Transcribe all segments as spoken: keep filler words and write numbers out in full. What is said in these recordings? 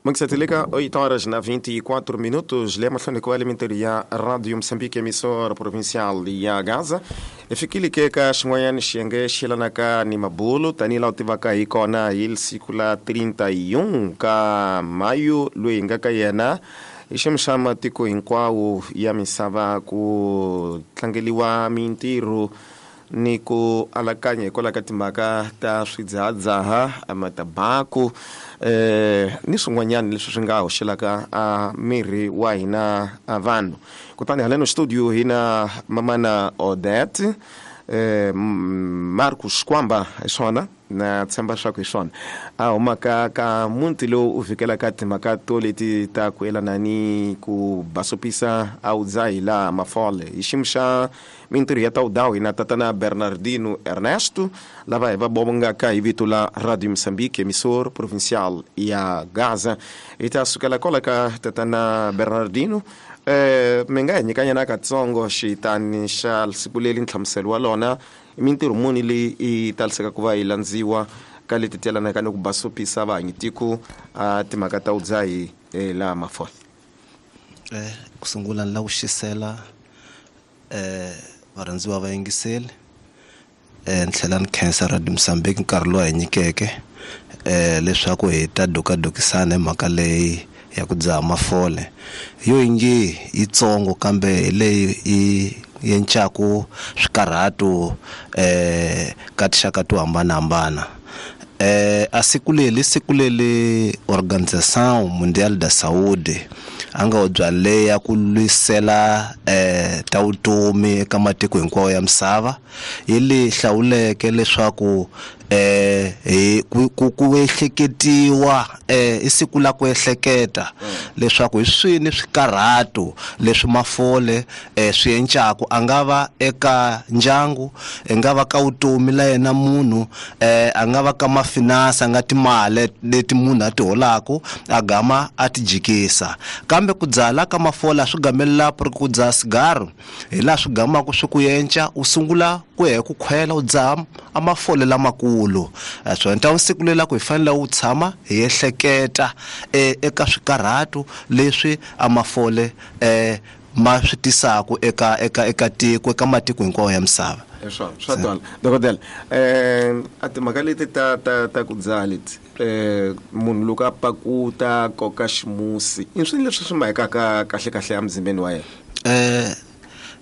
Manxatileka oito horas na vinte e quatro minutos, lemos com a ya Rádio Moçambique, emissora provincial ya Gaza. Efikile ke ka xin'wanyana xiyenge xi yelanaka ni mabulo tanihi laha u tivaka hi kona hi siku la trinta e um ka mayu loyi hi nga ka yena i xiyimo xa matiko hinkwawo ya misava ku tlangeliwa mintirho ni ku alakanya hikwalaho ka timhaka ta swidzahadzaha matabaku eh ni swin'wanyana leswi swi nga hoxelaka a miri wa hina a vanhu. Kutani haleno studio hi na mamana Odete eh Marcos Kwamba hi swona na tshemba swa ku hi swona a humaka ka muti lowu u fikelaka timhaka to leti ta ku yelana ni ku basopisa a wu dzahi laha mafole hi xiyimo xa mintirho ya tawudawu hi na tatana Bernardino Ernesto lava hi va bongaka hi vito la Radio Moçambique, emissor provincial ya Gaza. Hi ta sukela kwala ka tatana Bernardino. Eh mi nga hi nyikanyana katsongo xitani xa siku leri nhlamuselo wa lona mintirho muni leyi yi taliseka ku va yi landziwa ka leti ti yelanaka ni ku basopisa vahanyitiko a timhaka ta vudzahi laha mafole. Eh ku sungula ni lava ku xisela eh varhandziwa va yingiseli eh ni tlhela ni khensa Radio Moçambique nkarhi lowu hi nyikeke eh leswaku hi ta dokadokisana hi mhaka leyi ya ku dzaha mafole yo ingi yitsongo kambe hi leyi yi yencaku swikarhato eh ka tinxaka to hambanahambana. Eh a siku leri siku leri Organização Mundial da Saúde a nga bya leya ku lwisela eh ta vutomi eka matiko hinkwawo ya misava yi leyi hlawuleke leswaku eh hi ku ku ehleketiwa eh i siku la ku ehleketa leswaku hi swini swikarhato leswi mafole eh swi encaku a nga va eka ndyangu, i nga va ka vutomi la yena munhu, eh a nga va ka mafinansa nga timali leti munhu a ti holaku a gama a ti jikisa. Kambe ku dzaha la ka mafole a swi gamelela ku ri ku dzaha sigaro hi laha swi gamaka swi ku yenca u sungula ku ya hi ku khwela u dzaha a mafole lamakulu. Swo endla siku leri la ku hi fanele u tshama hi ehleketa eka swikarhato leswi a mafole eh ma swi tisaka eka eka eka tiko eka matiko hinkwawo ya misava. Swa swa twala dokodela eh a timhaka leti ta ta ta ku dzaha leti eh munhu loko a pakuta koka ximusi i swilo leswi swi mahekaka kahle kahle emzimbeni wa yena. Eh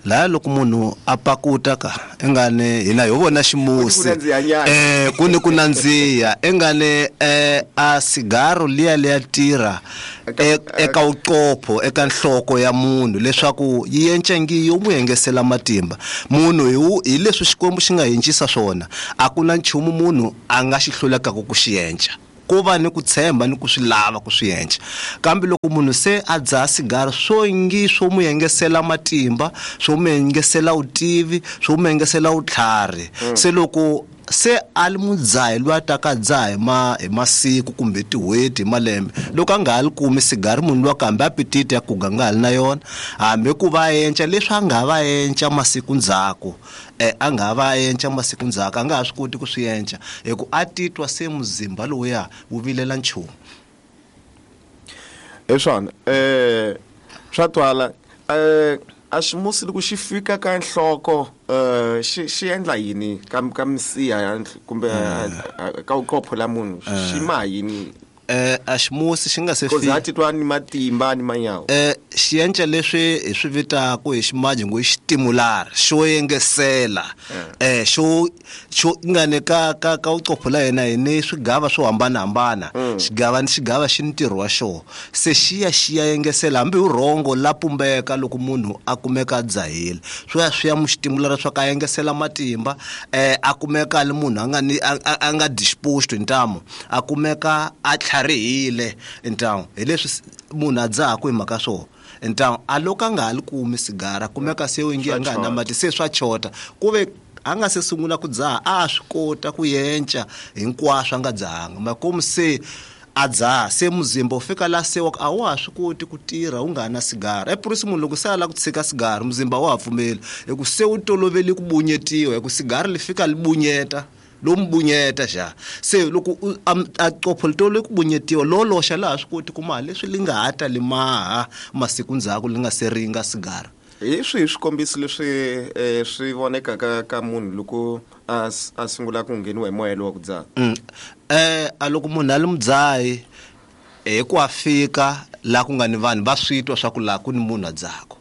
la loko munhu a pakuta ka ingane hina ho vona ximusi eh ku ni ku nandziha ingane eh a sigaro liya liya tirha eka uqopho eka nhloko ya munhu leswaku yi encengi yo n'wi engesela matimba munhu hi hi leswi Xikwembu xi nga hincisa swona a ku na nchumu munhu a nga xi hlulekaka ku xi enca ku va ni ku tshemba ni ku swi lava ku swi enca. Kambe loko munhu se a dzaha sigara swo ngi swo n'wi engesela matimba swo n'wi engesela vutivi swo n'wi engesela vutlhari se loko se a li mudzahi loyi a taka dzaha hi ma hi masiku kumbe tin'hweti hi malembe loko a nga ha li kumi sigari munhu luwa kambe apetite ya kuga nga ha li na yona hambi ku va enca leswi a nga va enca masiku ndzhaku eh a nga va enca masiku ndzhaku a nga ha swi koti ku swi enca hi ku a titwa se muzimba lowuya wu vilela nchumu. Hi swona eh swa twala eh a ximusi loko xi fika ka nhloko eh xi xi endla yini ka ka misiha ya kumbe ka uqopho la munhu xi ma yini? Eh a ximusi xi nga se fika titwa ni matimba ni manyawo eh xi enca leswi hi swi vitaka hi ximaji ngo i xitimulara xo yengesela eh xo xo nga ne ka ka ka uqopho la yena hi ni swigava swo hambanahambana xigava ni xigava xi ntirho wa xona se xiya xiya yengesela hambi hi rhongo la pumbeka loko munhu a kumeka a dzahile swo ya swi ya mu xitimulara swa ka yengesela matimba eh a kumeka li munhu a nga ni a nga disposed hi ntamu a kumeka a tlharihile ntamu hi leswi munhu a dzahaku hi mhaka swona ntamu a loko a nga ha li kumi sigara kumeka se u ngi a nga na mati se swa chota ku ve a nga se sungula ku dzaha a swi kota ku yenca hinkwaswo a nga dzahanga makomu se a dzaha se muzimba u fika la se a wa ha swi koti ku tirha u nga na sigara epurisi munhu loko se a lava ku tshika sigara muzimba wa ha pfumeli hi ku se wu toloveli ku bunyetiwa hi ku sigara li fika li bunyeta Lomu bunyeta xa se loko a qopho le ku bunyetiwa lo loxa laha swi koti ku maha leswi li nga ha ta li maha masiku ndzhaku li nga se ringa sigara. Hi swihi swikombiso leswi swi vonekaka ka munhu loko a a sungula ku ngheniwa hi moya lowa ku dzaha? Eh a loko munhu a li mudzahi hi ku a fika laha ku nga ni vanhu va swi twa swa ku laha ku ni munhu a dzahaka.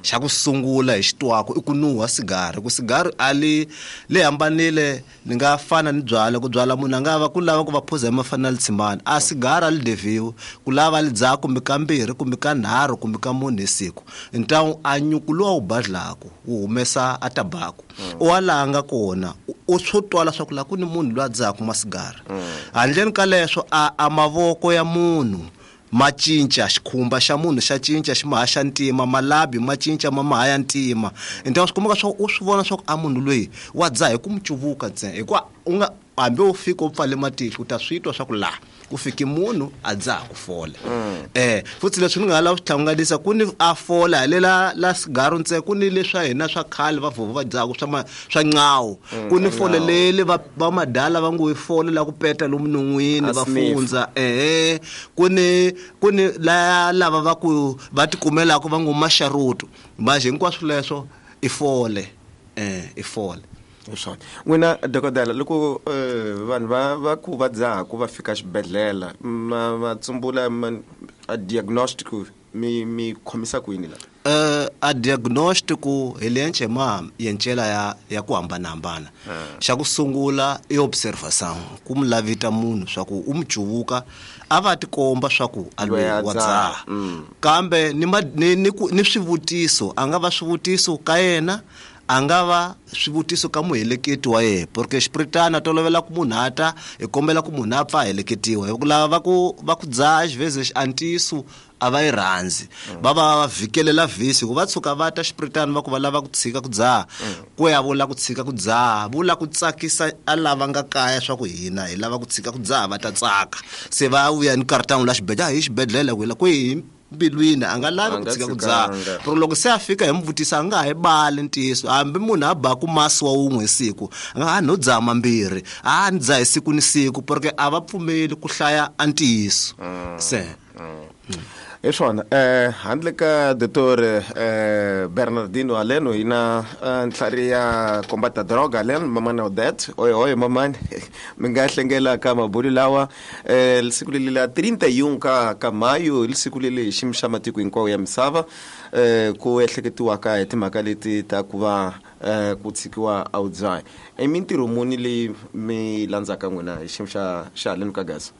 Xa ku sungula hi xitwako i ku nuha sigari, ku sigari a li le hambanile ni nga fana ni byala ku byala munhu a nga va ku lava ku va phuza hi mafana li tshimana a sigari a li deviwi ku lava li dzaha kumbe kambirhi kumbe ka nharhu kumbe ka mune hi siku ntawu a nyuku lowu wu badlaku wu humesa a tabaku u wa laha nga kona u swo twala swa ku laha ku ni munhu loyi a dzahaka masigari. Handleni ka leswo a a mavoko ya munhu ma cinca xikhumba xa munhu xa cinca xi maha xa ntima malabi ma cinca ma maha ya ntima ntawu swi kumeka swa u swi vona swa ku a munhu loyi wa dzaha hi ku mu cuvuka ntsena hikuva u nga hambi u fika u pfale matihlo u ta swi twa swa ku laha ku fiki munhu a dzaha ku fola. Eh futhi leswi ni nga lava swi hlanganisa ku ni a fola halela la sigaro ntsena ku ni leswa hina swa khale va vhovho va dzaha swa swa ncawu ku ni fole lele va va madala va ngo yi fole la ku peta lomu non'wini va fundza eh ku ni ku ni la lava va ku va tikumelaka va ngo maxaruto manje hinkwaswo leswo i fole eh i fole. Swona n'wina dokodela loko vanhu va va ku va dzaha ku va fika xibedhlele ma va tsumbula a diagnostic mi mi khomisa ku yini la? Eh a diagnostic hi lenche ma yencela ya ya ku hambanahambana. Xa ku sungula i observation ku mu lavita munhu swa ku u mu cuvuka a va tikomba swa ku a lwe wa dzaha kambe ni ni ni swivutiso a nga va swivutiso ka yena a nga va swivutiso ka muheleketi wa yena porque xipiritana tolovela ku munhu ata hi kombela ku munhu a pfa a heleketiwa hi ku lava va ku va ku dzaha xiveze xi antiso a va yi rhandzi va va va vhikelela vhisi ku va tshuka va ta xipiritana va ku va lava ku tshika ku dzaha ku ya vula ku tshika ku dzaha vula ku tsakisa a lava nga kaya swa ku hina hi lava ku tshika ku dzaha va ta tsaka se va vuya ni kartangu la xibedhlele hi xibedhlele ku la kwihi mbilwini a nga lavi ku tshika ku dzaha pero loko se a fika hi mu vutisa a nga ha yi bali ntiyiso hambi munhu a baku masi wa wun'we hi siku a nga ha no dzaha mambirhi a ni dzaha hi siku ni siku porque a va pfumeli ku hlaya a ntiyiso se hi swona. Eh handle ka doctor eh Bernardino Aleno hi na ntlhari ya kombata droga Aleno mamana Odette oy oy mamani mi nga hlengela ka mabulu lawa eh siku leli la trinta e um ka ka maio siku leli xiyimo xa matiko hinkwawo ya misava eh ku ehleketiwaka hi timhaka leti ta ku va ku tshikiwa a wu dzahi. I mintirho muni leyi mi landzaka n'wina hi xiyimo xa xa haleni ka Gaza?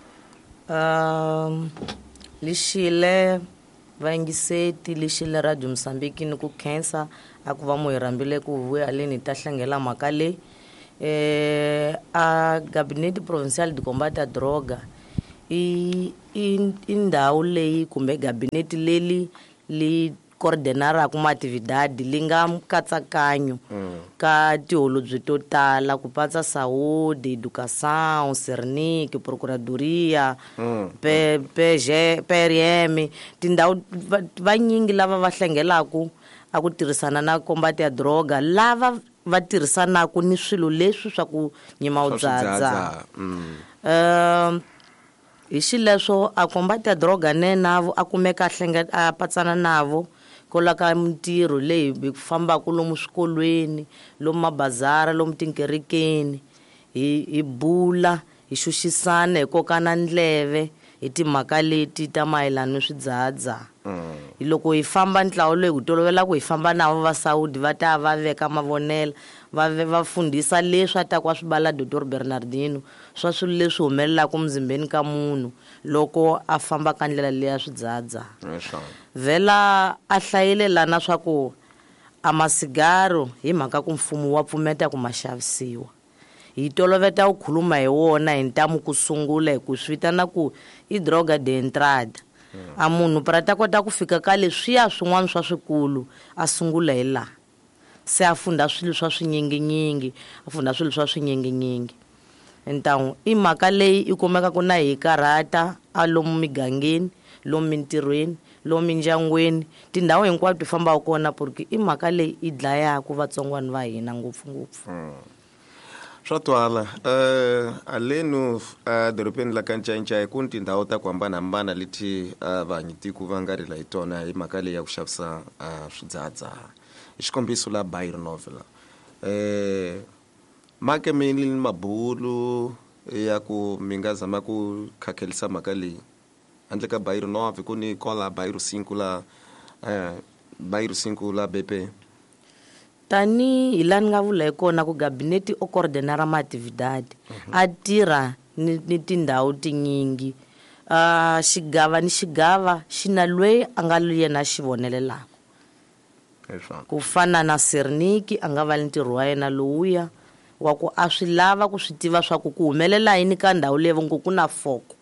Um lexile vayingiseti lexile Radio Mozambique ni ku khensa a ku va mu hi rhambile ku vuya haleni hi ta hlangela mhaka leyi. Eh a Gabinete Provincial de Combate a Droga i i ndhawu leyi kumbe gabinete leli li coordenaraka maatividade li nga nkatsakanyo ka tiholobye to tala ku patsa saúde, educação, Cernic, procuradoria, P P G P R M tindhawu vanyingi lava va hlangelaku a ku tirhisana na combate ya droga lava va tirhisanaka ni swilo leswi swa ku nyima u dzadza. Um hi xileswo a combate ya droga ne navo a kumeka a hlenge a patsana navo kwala ka mintirho leyi hi fambaka lomu swikolweni lomu mabazara lomu tinkerekeni hi hi bula hi xuxisana hi kokana ndleve hi timhaka leti ta mayelana ni swidzahadzaha. Hi loko hi famba ntlawa loyi hi tolovela ku hi famba navo va Saudi va ta va veka mavonelo va va fundhisa leswi a ta ku a swi bala Doctor Bernardino swa swilo leswi humelelaka muzimbeni ka munhu loko a famba ka ndlela leya swidzahadzaha. Vhela a hlayile lana swa ku a masigaro hi mhaka ku mfumo wa pfumeta ku ma xavisiwa hi toloveta ku khuluma hi wona hi ntamu ku sungula hi ku swi vitana ku i droga de entrada. A munhu pra ta kota ku fika ka leswiya swin'wana swa swikulu a sungula hi laha se a funda swilo swa swinyinginyingi a funda swilo swa swinyinginyingi. Ntawu i mhaka leyi i kumekaka na hi karhata a lomu migangeni lomu mintirhweni lomu mindyangwini tindhawu hinkwato ti fambaka kona porque i mhaka leyi i dlayaka vatsongwana va hina ngopfungopfu. Swa twala eh alenu dorobeni la ka Ncayincaya ku ni tindhawu ta ku hambanahambana leti vahanyitiku va nga rila hi tona hi mhaka leyi ya ku xavisa swidzahadzaha. Hi xikombiso la Bairro Novo eh make mi ni mabulu ya ku mi nga zama ku khakhelisa mhaka leyi handle ka Bairro Novo ku ni kola Bairro cinco la eh Bairro cinco la B P. Tani hi laha ni nga vula hi kona ku gabinete o coordenara maatividade a tirha ni, ni tindhawu tinyingi. Uh, xigava ni xigava xi na loyi a nga yena xi vonelelaka. Ku fana na Serniki a nga va ni ntirho wa yena lowuya wa ku a swi lava ku swi tiva swa ku ku humelela yini ka ndhawu leyi ngo ku na foko.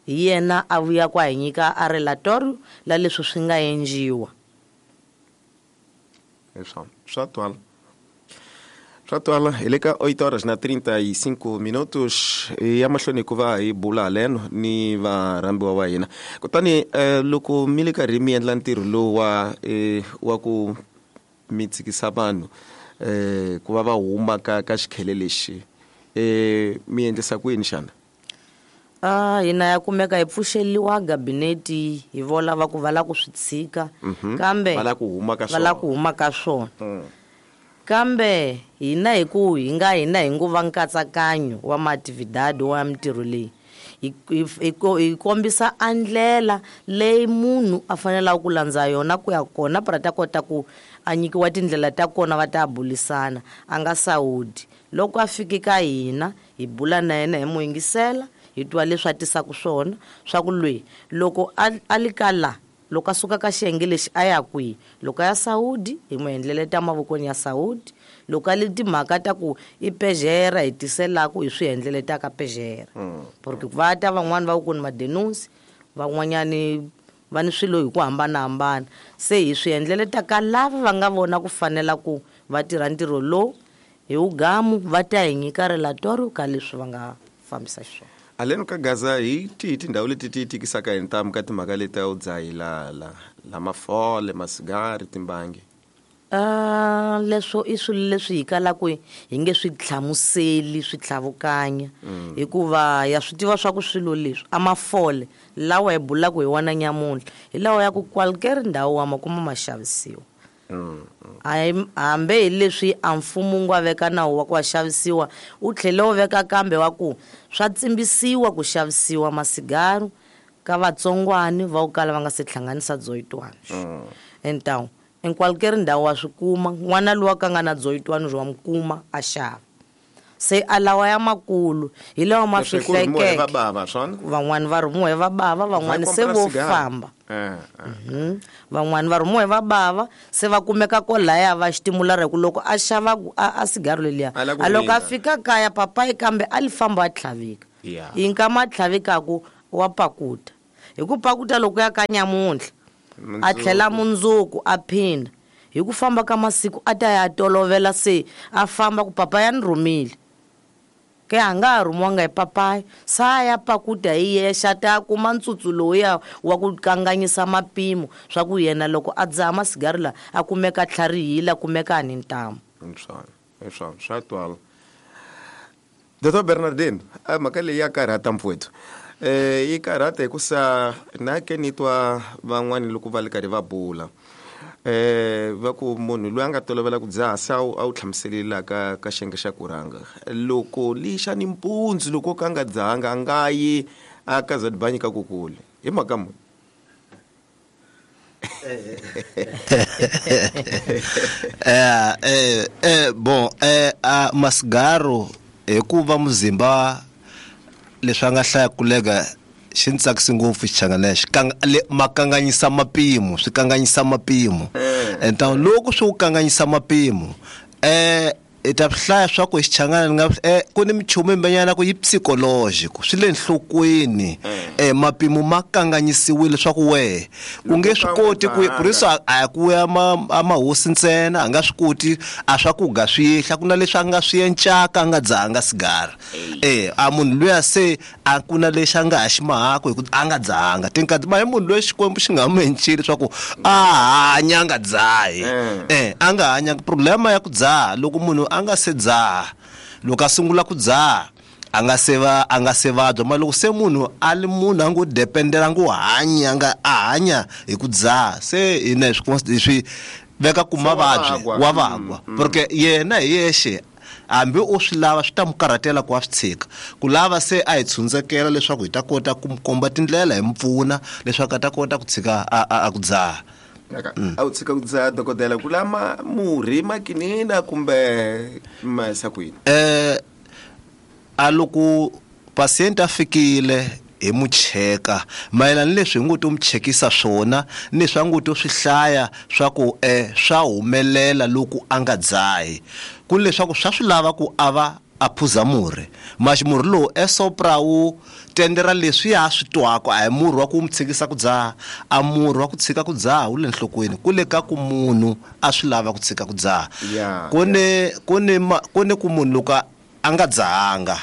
Hi yena a vuya ku a hi nyika a relatorio la leswi swi nga endliwa. Swa twala. Swa twala hi le ka oito horas na trinta e cinco minutos ya mahlweni ku va hi bula haleno ni varhambiwa va hina. Kutani loko mi le karhi mi endla ntirho lowu wa wa ku mi tshikisa vanhu eh ku va va huma ka ka xikhele lexi eh mi endlisa ku yini xana? Ah, hina ya kumeka hi pfuxeliwa gabinete hi vola va ku va la ku swi tshika kambe va la ku huma ka swona, va la ku huma ka swona. Kambe hina hi ku hi nga hina hi ngo va nkatsakanyo wa maatividade wa mintirho leyi hi hi kombisa a ndlela leyi munhu a fanelaka ku landza yona ku ya kona para ta kota ku a nyikiwa tindlela ta kona va ta bulisana a nga sawudi. Loko a fiki ka hina hi bula na yena hi mo yingisela hi twa leswi a tisaka swona swa ku lweyi loko a li ka la loko a suka ka xiyenge lexi a ya kwihi, loko a ya Saudi hi n'wi endleleta mavokweni ya Saudi, loko a li timhaka ta ku i pejera hi tiselaku hi swi endleleta ka pejera. Porque va ta van'wani va ku ni madenunsi van'wanyani va ni swilo hi ku hambanahambana, se hi swi endleleta ka lava va nga vona ku fanela ku va tirha ntirho lowu hi wugamu va ta hi nyika relatorio ka leswi va nga fambisa xiswona. Aleno ka Gaza hi tihi tindhawu leti ti tikisaka hi ntamu ka timhaka leti a wu dzahila la la mafole masigari timbangi? Ah, leswo i swilo leswi hi kalaka hi nge swi hlamuseli swi tlhavukanya hikuva ya swi tiva swa ku swilo leswi a mafole lawa hi bulaka hi wona nyamuntlha hi lawa ya ku qualquer ndhawu wa ma kuma ma xavisiwa. Hambe hi leswi a mfumo wu nga veka nawu wa ku wa xavisiwa wu tlhele wu veka kambe wa ku swa tsimbisiwa ku xavisiwa masigaru ka vatsongwani va ku kala va nga se hlanganisa dzoyitwana. Então em qualquer ndhawu wa swi kuma n'wana lowa ka nga na dzoyitwana wa mi kuma a xava. Se a lawa ya makulu hi lawa ma fihlekeke van'wani va rhumiwa hi vabava van'wani se vo famba. Van'wani va rhumiwa hi vabava se va kumeka kolaya va xitimulara hi ku loko a xava a sigaro leliya a loko a fika kaya papayi kambe a li famba a tlhavika hi nkama a tlhavikaku wa pakuta hi ku pakuta loko ya ka nyamuntlha a tlhela mundzuku a phinda hi ku famba ka masiku a ta ya tolovela se a famba ku papa ya ni rhumile ke a nga ha rhumiwanga hi papayi sa ya pakuta hi yexe a ta kuma ntsutsu lowuya wa ku kanganyisa mapimo swa ku yena loko a dzaha masigari laha a kumeka tlharihile a kumeka a ni ntamu. Hi swona swa twala. Doctor Bernardin, a mhaka leyi ya karhata mpfweto eh yi karhata hikusa na ke ni twa van'wani loko va li karhi va bula eh va ku munhu loyi a nga tolovela ku dzaha se a wu a wu hlamuselile ka ka xiyenge xa ku rhanga loko lixa ni mpundzu loko ka nga dzahanga a nga yi a ka za dibanyi ka kukule hi mhaka muni? Eh eh eh bon eh a masigaro hikuva muzimba leswi a nga hlaya kulega xi ni tsakisi ngopfu xichangana lexi ma kanganyisa mapimo swi kanganyisa mapimo. Então loko swi ku kanganyisa mapimo eh i ta hlaya swa ku xichangana ni nga eh ku ni minchumu yimbenyana ku yi psychological swi le nhlokweni eh mapimo ma kanganyisiwile swa ku wehe u nge swi koti ku purisa a ku ya ma mahosi ntsena a nga swi koti a swa ku ga swi yehla ku na leswi a nga swi encaka a nga dzahanga sigara eh a munhu luya se a ku na lexi a nga ha xi mahako hi ku a nga dzahanga tinkati ma hi munhu loyi Xikwembu xi nga mu encile swa ku a hanya a nga dzahi eh a nga hanya problema ya ku dzaha loko munhu a nga se dzaha Loko a sungula ku dzaha a nga se va a nga se vabya, ma loko se munhu a li munhu a ngo dependela ngo hanya nga a hanya hi ku dzaha, se hina swi swi veka ku mavabyi wa vagwa, porque yena hi yexe hambi u swi lava swi ta mu karhatela ku a swi tshika. Ku lava se a hi tshundzekela leswaku hi ta kota ku mu komba tindlela hi mu pfuna leswaku a ta kota ku tshika a a ku dzaha. A wu tshika ku dzaha dokodela ku lama murhi makinina kumbe ma sa ku yini? Eh a loko patient a fikile hi mu cheka mayelana ni leswi hi ngo to mu chekisa swona ni leswi a ngo to swi hlaya swa ku eh swa humelela loko a nga dzahi, ku leswaku swa swi lava ku a va a phuza murhi. Maxi murhi lowu esopra wu tendera leswi ya swi twaka, a hi murhi wa ku mu tshikisa ku dzaha, a murhi wa ku tshika ku dzaha wu le nhlokweni, ku le ka ku munhu a swi lava ku tshika ku dzaha. Ku ni ku ni ku ni ku munhu loko a nga dzahanga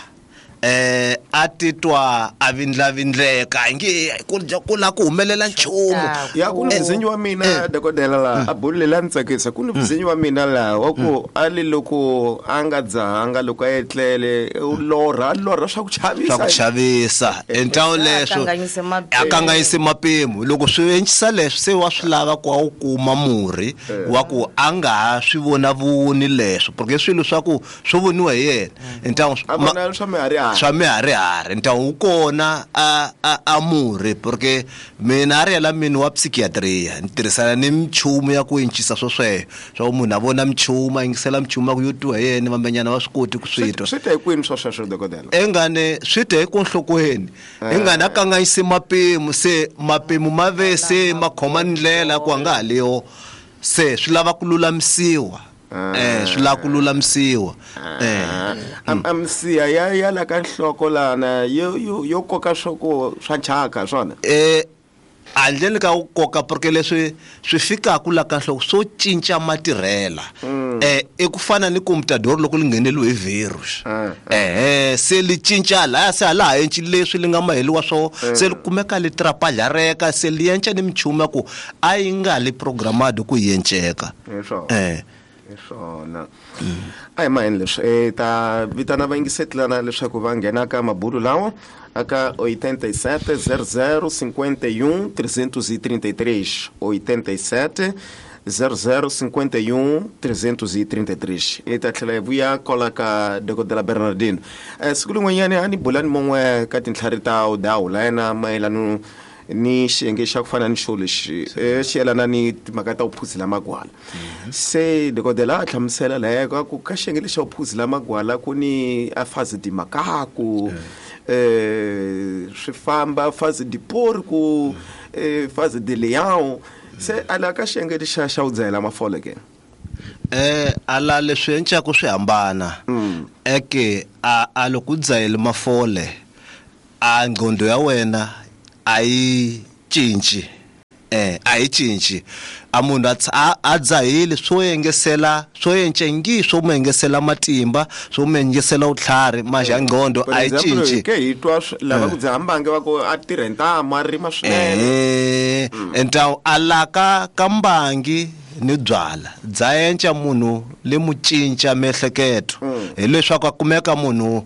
eh a titwa a vindlavindleka nge ku ku la ku humelela nchumu. Ya ku ni mzinyi wa mina dokodela la a bulela ntsakisa, ku ni mzinyi wa mina la wa ku a li loko a nga dzahanga loko a etlele u lorha lorha swa ku chavisa, swa ku chavisa entawo leswo a kanganyise mapimo. Loko swi encisa leswi se wa swi lava ku a wu kuma murhi wa ku a nga ha swi vona voni leswo, porque swilo swa ku swo voniwa hi yena entawo a vona swa mihari swa miharihari ntawu wu kona a a a murhi, porque mina a ri yela mina wa psychiatria ni tirhisana ni michumu ya ku encisa swo sweswo swa munhu a vona michumu a yingisela michumu ya ku yo twiwa hi yena vambenyana va swi koti ku swi twa. Swi ta hi kwini swo sweswo dokodela? Engane swi ta hi ku nhlokweni, engane a kanganyisi mapimo, se mapimo ma ve se ma khoma ndlela ku a nga ha leyo, se swi lava ku lulamisiwa. Eh swi lava ku lulamisiwa. Eh am am siya ya ya la ka nhloko lana yo yo yo koka swo ku swa nchaka swona. Eh handleni ka ku koka, porque leswi swi fikaka la ka nhloko swo cinca matirhela. Eh i ku fana ni computador loko li ngheneliwe hi virus, eh se li cinca laya se hala ha enci leswi li nga maheliwa swo, se li kumeka li trapalhareka, se li enca ni michumu ya ku a yi nga li programmado ku yi enceka. Eh swona a hi maheni leswi e ta vitana vayingisetlana leswaku va nghena ka mabulu lawa aka oitenta e sete zero zero cinquenta e um trezentos e trinta e três, oitenta e sete zero zero cinquenta e um trezentos e trinta e três. E ta tlhela hi vuya kwala ka dokodela Bernardino. Eh siku rin'wanyani a ni bulani mun'we ka tintlhari ta udawu la yena mayelano ni xiyenge xa ku fana ni xo lexi xi yelana ni timhaka ta vuphuzela magwala. Se dokodela a hlamusela laya ka ku ka xiyenge lexi xa vuphuzela magwala ku ni a fazi di makaku, eh swi famba fazi di porco, eh fazi di leão. Se ala ka xiyenge lexi xa u dzahela mafole ke? Eh ala leswi encaku swi hambana. Eke a a loko u dzahele mafole a ngqondo ya wena a yi cinci, eh a yi cinci. A munhu a a dzahile swo yengesela swo encengi swo mu yengesela matimba swo mu yengesela vutlhari maxa ngqondo a yi cinci. Ke hi twa lava ku dzaha mbangi va ku a tirha ntamu a rima swinene. Eh entawu a laka ka mbangi ni byala dza enca munhu le mu cinca miehleketo, hileswaku a kumeka munhu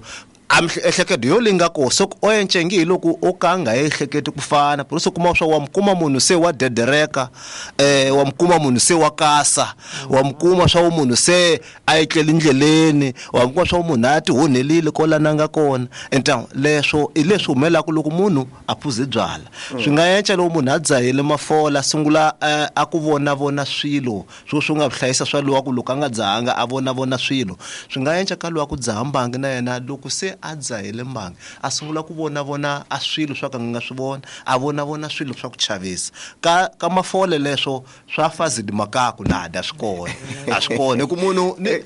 a miehleketo yo linga ko so o encengi hi loko o ka nga ehleketi ku fana, por isso kuma swa wa mukuma munhu se wa dedereka, eh wa mukuma munhu se wa kasa, wa mukuma swa munhu se a etlele ndleleni, wa mukuma swa munhu a ti honelile kola nanga kona. Enta leswo i leswi humelaka loko munhu a phuze byala. Swi nga enca loko munhu a dzahile mafola sungula a ku vona vona swilo swo swi nga hlayisa swa lowa ku loko a nga dzahanga a vona vona swilo. Swi nga enca ka lowa ku dzaha mbangi na yena loko se a dzahile mbangi a sungula ku vona vona a swilo swa ka nga swi vona, a vona vona swilo swa ku chavisa. Ka ka mafole leswo swa fazi di makaku nada swi kona a swi kona ku munhu ni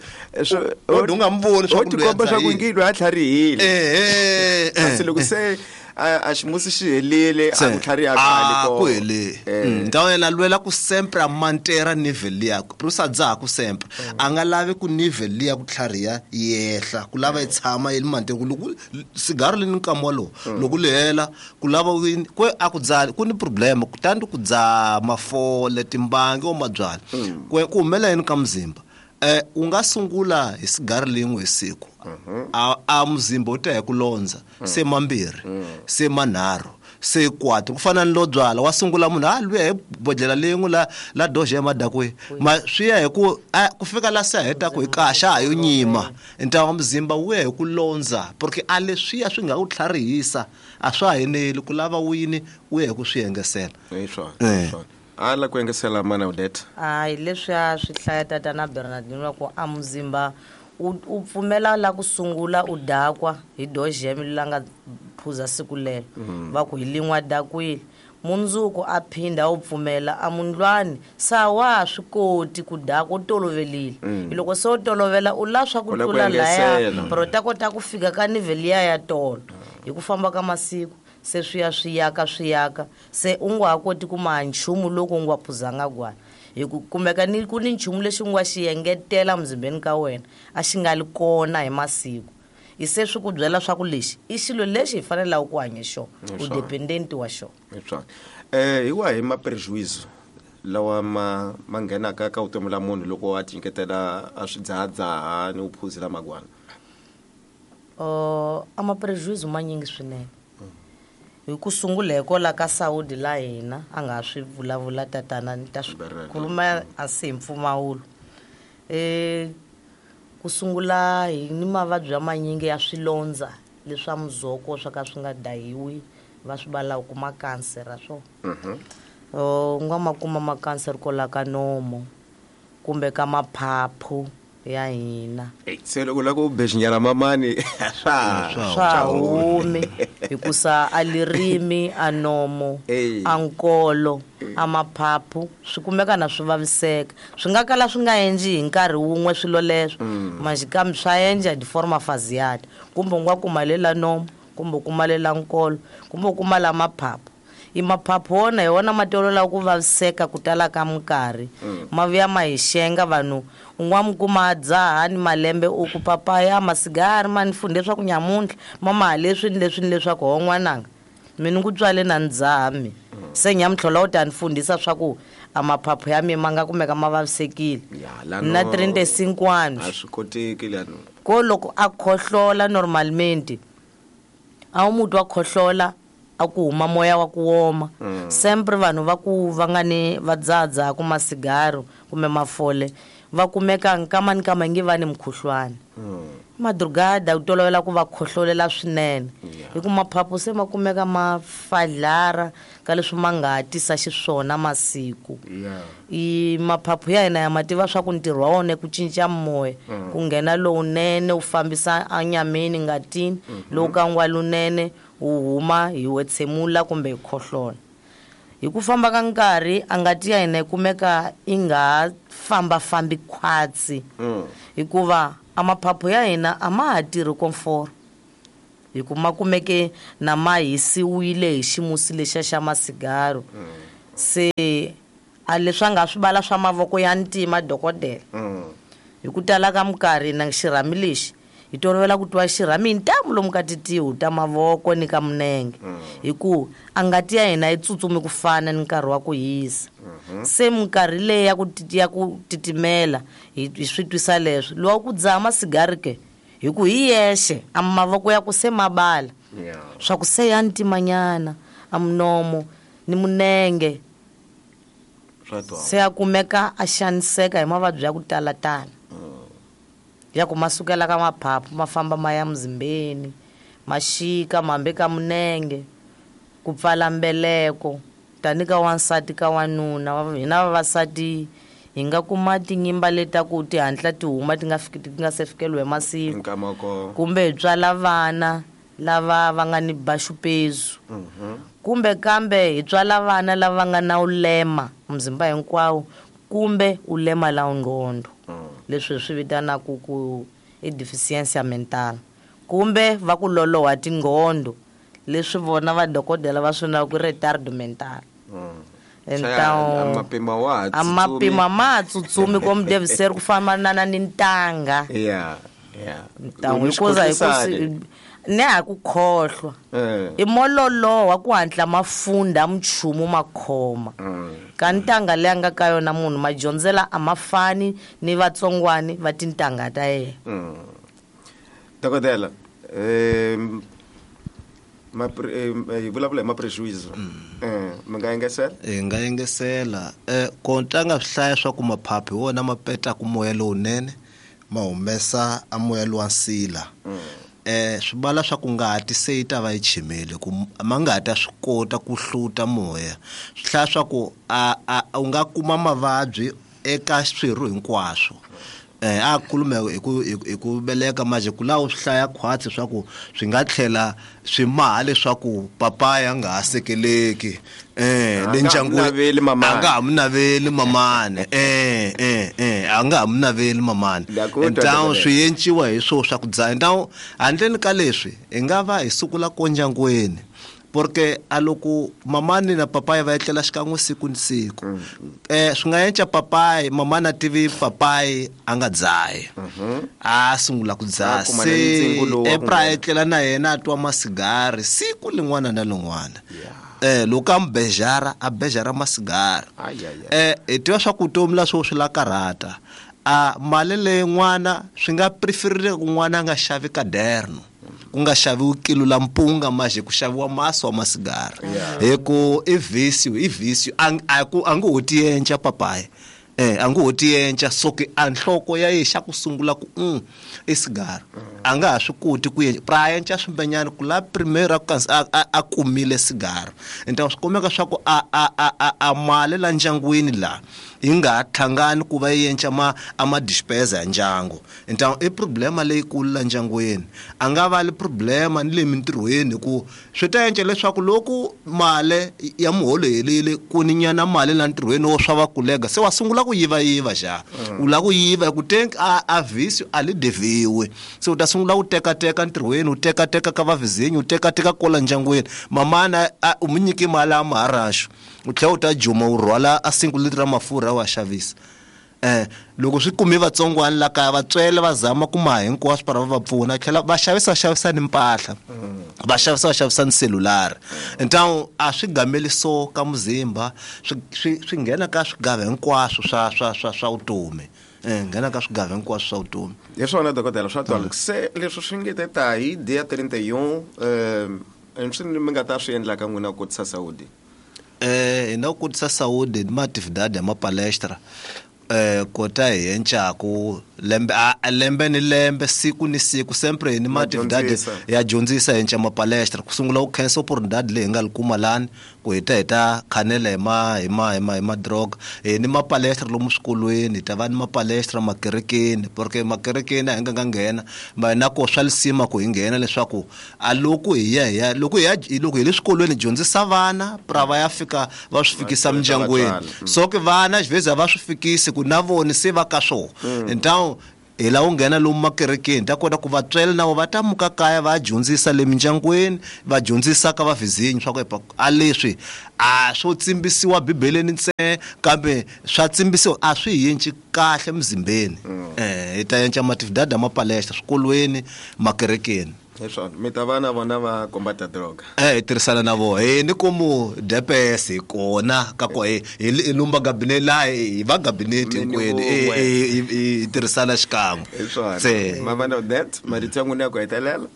o nga mvoni swa ku tikomba swa ku ngilo a tlharihile. Eh kasi loko se a ximusi xi helile a ku tlhariha khale ko ku hele ntawu yena lwela ku sempre a mantera nivel yakwe por isso dzaha ku sempre a nga lavi ku nivel liya ku tlhariha yehla ku lava yi tshama yi mantera ku loko sigaro li ni nkama walowo loko li hela ku lava ku a ku dzaha ku ni problem kutani ku dzaha mafole timbangi o mabyala ku ku humela yini ka muzimba Eh u nga sungula hi sigari lin'we hi siku. A a muzimba u ta hi ku londza se mambirhi se manharhu se kwatro ku fana ni lo byala wa sungula munhu a luya hi bodlela lin'we la la doje ya madakwe ma swi ya hi ku ku fika la se heta ku hi kaxa ha yo nyima ntawa muzimba wu ya hi ku londza porque a leswiya swi nga u tlharihisa a swa heneli ku lava wini u ya hi ku swi engesela hi swona a la ku engesela mana Odette a hi leswiya swi hlaya tatana Bernardino ku a muzimba u pfumela la ku sungula u dakwa hi dojeme la nga phuza siku lelo va ku hi lin'wa dakwile mundzuku a phinda u pfumela a mundlwani sa wa swi koti ku dakwa u tolovelile loko se u tolovela u la swa ku tlula laya pero ta kota ku fika ka nivel ya ya tolo hi ku famba ka masiku se swi ya swi yaka swi yaka se u nga ha koti ku maha nchumu loko u nga phuzanga gwala hi ku kumeka ni ku ni nchumu lexi u nga xi engetela muzimbeni ka wena a xi nga li kona hi masiku hi se swi ku byela swa ku lexi i xilo lexi hi fanelaka ku hanya xona u dependent wa xona eh hi wahi ma prejuízo lawa ma ma nghenaka ka vutomi la munhu loko a tinyiketela a swi dzahadzaha ni u phuzela magwana uh a ma prejuízo manyingi swinene hi ku sungula hi kola ka Saudi la hina a nga swi vulavula tatana ni ta swi khuluma a si hi mpfumawulo eh ku sungula hi ni mavabyi ya manyingi ya swilondza leswa muzoko swa ka swi nga dahiwi va swi valaka ku ma cancer swo u nga ma kuma ma cancer kola ka nomo kumbe ka maphaphu ya hina se loko la ku bexinyana mamani swa swa humi hikusa a lirimi a nomo a nkolo a maphaphu swi kumeka na swi vaviseka swi nga kala swi nga endli hi nkarhi wun'we swilo leswo maxikambe swa endla hi forma faziata kumbe u nga kuma lela nomo kumbe u kuma lela nkolo kumbe u kuma la maphaphu i maphaphu wona hi wona ma tolola ku vaviseka ku tala ka minkarhi ma vuya ma hi xenga vanhu u nga mi kuma a dzaha ni malembe u ku papaya masigari ma ni fundhe swa ku nyamuntlha mama leswi ni leswi ni leswaku ho n'wananga mina ku tswale na ni dzaha mi se nyamuntlha u ta ni fundhisa swa ku a maphaphu ya mina ma nga kumeka ma vavisekile na trente-cinco anos a swi koteki lano ko loko a khohlola normalmente a wu muti wa khohlola a ku huma moya wa ku woma sempre vanhu va ku va nga ni va dzahadzaha ku masigaro kumbe mafole va kumeka nkama ni kama nge va ni mukhuhlwani madrugada u tolovela ku va khohlolela swinene hi ku maphaphu se ma kumeka ma fadlara ka leswi ma nga tisa xiswona masiku i maphaphu ya hina ya ma tiva swa ku ntirho wa wona ku cinca moya ku nghena lowunene u fambisa enyameni ngatini lowu ka ngwa lunene u huma hi wetsemula kumbe hi khohlola hi ku famba ka nkarhi a ngati ya hina yi kumeka yi nga fambafambi khwatsi hikuva a maphaphu ya hina a ma ha tirhi komforo hi ku ma kumeke na ma hisiwile hi ximusi lexiya xa masigaro se a leswi a nga swi vala swa mavoko ya ntima dokodela hi ku tala ka minkarhi na xirhami lexi hi tolovela ku twa xirhami hi ntamu lomu ka titihu ta mavoko ni ka minenge hi ku a ngati ya hina yi tsutsumi ku fana ni nkarhi wa ku hisa se minkarhi leyi ya ku ya ku titimela hi swi twisa leswo lowa ku dzaha masigari ke hi ku hi yexe a mavoko ya ku se mabala swa ku se ya ntimanyana a munomo ni munenge se a kumeka a xaniseka hi mavabyi ya ku talatala ya ku ma sukela ka maphaphu ma famba ma ya muzimbeni ma xika mambe ka munenge ku pfala mbeleko tani ka wansati ka wanuna hina vavasati hi nga kuma tinyimba leta ku ti hatla ti huma ti nga fiki ti nga se fikeliwa hi masiku kumbe hi tswala vana lava va nga ni baxupezu kumbe kambe hi tswala vana lava nga na ulema muzimba hinkwawo kumbe ulema la ngqondo leswi hi swi vitanaka ku i deficiência mental kumbe va ku loloha tingqondo leswi vona vadokodela va swi ku retardo mental então mapima wa a mapima ma tsutsumi como deve ser ku fana na ni ntanga yeah yeah então hikuza hi ku Ne ha ku khohlwa i mololo wa ku hatla mafunda mchumu makhoma ka ntanga leyi a nga ka yona munhu madyondzela a ma fani ni vatsongwani va tintangha ta yena. Dokodela um hi vulavula hi ma-prejuice mi nga engesela? Hi nga engesela um ko ntanga swi hlaya swa ku maphaphu hi wona ma petaka moya lowunene ma humesa a moya lowa nsila. Eh swi vala swa ku ngati se yi ta va yi chimile ku ma nga ta swi kota ku hluta moya. Swi hlaya swa ku a u nga kuma mavabyi eka swirho hinkwaswo. Eh a khulume hi ku hi ku veleka manje ku laha u swi hlaya khwatsi swa ku swi nga tlhela swi maha leswaku papaya nga ha sekeleki eh le ndyangwini a nga ha mu naveli mamani eh eh eh a nga ha mu naveli mamani. Ntawu swi enciwa hi swo swa ku dzaha. Ntawu handleni ka leswi hi nga va hi sukula ko ndyangwini porque a loko mamani na papaya va etlela xikan'we siku ni siku eh swi nga enca papayi mamani a tivi papayi a nga dzahi a sungula ku dzaha se epra etlela na yena a twa masigari siku lin'wana na lin'wana eh loko a mbejara a bejara masigari eh hi tiva swa ku vutomi la swo swi la karhata a mali leyi n'wana swi nga preferile ku n'wana a nga xavi kaderno ku nga xaviwi kilo la mpunga maje ku xaviwa masi wa masigara hi ku i visio i visio a ku a nge ho tienca papaya eh a nge ho tienca soki a nhloko ya ye xa ku sungula ku um i sigara a nga ha swi koti ku pra enca swimbenyana ku la primera a a kumile sigara. Nta swi kumeka swa ku a a a a mali la ndyangwini la yi nga ha tlhangani ku va yi enca ma a ma dispensa ya ndyangu. Nta i problema leyikulu la ndyangwini a nga va li problema ni le mintirhweni ku swi ta enca leswaku loko mali ya muholo helile ku ni nyana mali la ntirhweni wo swa va kulega se wa sungula ku yiva yiva xa u lava ku yiva ku tenk a a visi a li deviwe se u ta sungula ku teka teka ntirhweni u teka teka ka vavizinyi u teka teka kola ndyangwini mamana u mu nyiki mali ya maharaxu u tlhela u ta juma u rhwala a single litra mafurha wa xavisa. Eh loko swi kumi vatsongwana la kaya vatswele va zama ku maha hinkwaswo para va va pfuna tlhela va xavisa xavisa ni mpahla va xavisa va xavisa ni selulari. Ntawu a swi gameli so ka muzimba swi swi swi nghena ka swigava hinkwaswo swa swa swa swa vutomi eh nghena ka swigava hinkwaswo swa vutomi. Hi swona dokodela swa twala se leswi swi nge ta hi dia trinta e um eh swi mi nga ta swi endla ka n'wina ku kotisa saúde eh hi na ku kotisa saúde ni maatividade ya mapalestra eh kota hi encaku lembe a lembe ni lembe siku ni siku sempre ni maatividade ya dyondzisa hi enca mapalestra ku sungula ku khensa oportunidade leyi hi nga li kuma lani ku hi ta hi ta khanela hi ma hi ma hi ma hi ma droga hi ni mapalestra lomu swikolweni hi ta va ni mapalestra makerekeni porque makerekeni a hi nga nga nghena ma na ko swa lisima ku hi nghena leswaku a loko hi ya hi ya loko hi ya loko hi le swikolweni dyondzisa vana pra va ya fika va swi fikisa mindyangwini so ke vana xiveza va swi fikisi ku na vona se va ka swona. Ntawu hi la u nghena lomu makerekeni ta kota ku vatswele na va ta muka kaya va dyondzisa le mindyangwini va dyondzisa ka vavizinyi swa ku a leswi a swo tsimbisiwa bibeleni ntsena kambe swa tsimbisiwa a swi yinci kahle mzimbeni eh hi ta enca matividade mapalestra swikolweni makerekeni. Hi swona mi ta va na vona va kombata droga eh hi tirhisana na vona hi ni komu D P S hi kona ka ko hi hi lumba gabinete la hi va gabinete hinkwenu hi tirhisana xikan'we. Hi swona mavana that marito ya n'wina ya ku hetelela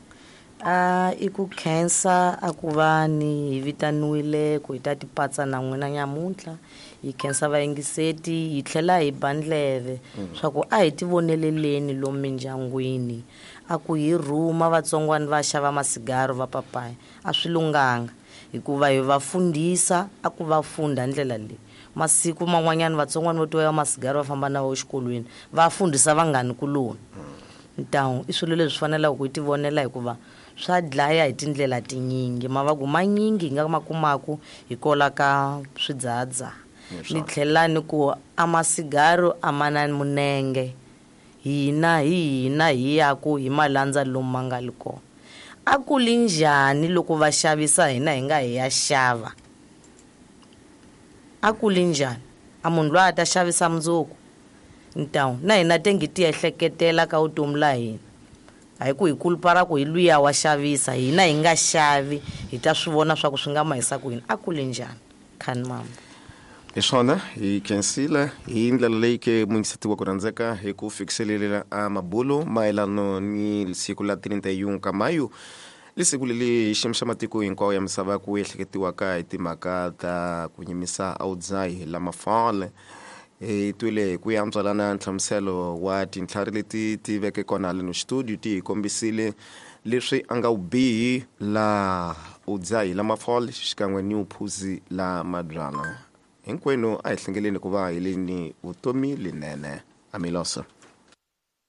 a i ku khensa a ku va ni hi vitaniwile ku hi ta tipatsa na n'wina nyamuntlha hi khensa vayingiseti hi tlhela hi ba ndleve swa ku a hi tivoneleleni lomu mindyangwini a ku hi rhuma vatsongwana va xava masigaro va papaya a swi lunghanga hikuva hi va fundisa a ku va funda ndlela leyi masiku man'wanyana vatsongwana vo tiwa masigaro va famba na wo exikolweni va fundisa vanghani kuloni. Ntawu i swilo leswi faneleke ku hi tivonela hikuva swa dlaya hi tindlela tinyingi mavagu manyingi hi nga ma kumaku hi kola ka swidzahadzaha ni tlhela ni ku a masigaro a ma na munenge hina hi hina hi yaku hi malandza lomu ma nga li kona a ku li njhani loko va xavisa hina hi nga hi ya xava a ku li njhani a munhu loyi a ta xavisa mundzuku ntawu na hina tengi ti ehleketela ka vutomi la hina A hi ku hi kulupara ku hi luya wa xavisa, hina hi nga xavi, hi ta swi vona swa ku swi nga mahisa ku yini. A kule njhani khani mama? Hi swona, hi khensile hi ndlela leyi ke muyingiseti wa ku rhandzeka hi ku fikiselelela a mabulo mayelano ni siku la trinta e um ka mayu, lisiku leli hi xiyimo xa matiko hinkwawo ya misava ku ehleketiwaka hi timhaka ta ku nyimisa a wudzahi la mafole. Hi twile hi ku ya ntswalana nhlamuselo wa tintlhari leti ti veke kona leno studio, ti hi kombisile leswi a nga wubihi la udzahi la mafole xikan'we ni uphuzi la mabyala. Hinkwenu a hi hlengeleni ku va hi le ni vutomi linene. Amiloso.